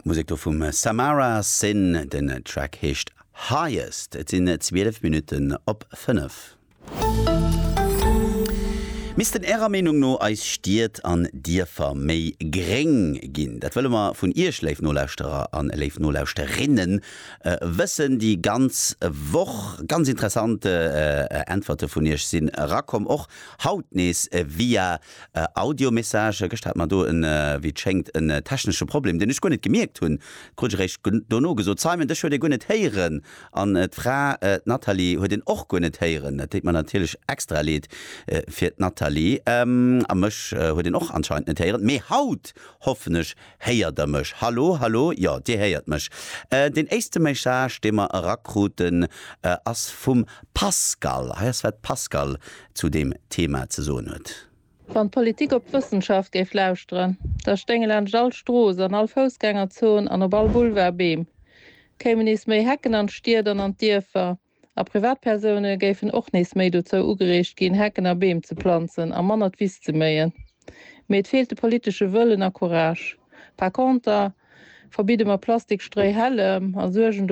Musek do vum Samara Sin, den Track heescht Highest. Et sinn 12 Minutten op 5. Missten Ärer Meenung no eis Stied an Dierfer méi gréng ginn? Dat wëlle mer vun Iech, léif Nolauschterer an léif Nolauschterinnen, wëssen. Déi ganz Woch ganz interessant Äntwerte vun Iech sinn erakomm, och haut nees via Audiomessage. Gëschter hat mer do en, wéi et schéngt, en technesche Problem, deen ech guer net gemierkt hunn. Krut ech eréischt dono gesot, Simon, dech huet ee guer net héieren. An d'Fra, d'Nathalie, huet een och guer net héieren. Dat deet mer natierlech extra leed fir d'Nathalie. A mech huet een och anscheinend net héieren. Mee haut, hoffen ech, héiert der mech. Hallo, hallo, jo, dir héiert mech. Deen éischte Message, dee mer erakruten, ass vum Pascal. Hei ass, wat d'Pascal zu deem Thema ze soen huet. Wann d'Politik op d'Wëssenschaft géif lauschteren, da stéinge laanscht all Strooss, an all Foussgängerzon an op all Boulevard Beem, kéimen nees méi Hecken an d'Stied an an d'Dierfer a Privatpersoune géifen och nees méi dozou ugereegt ginn, Hecken a Beem ze planzen a manner d'Wiss ze méien. Mee et feelt de politesche Wëllen a Courage. Par conter verbidde mer Plastikstréihällem a suergen.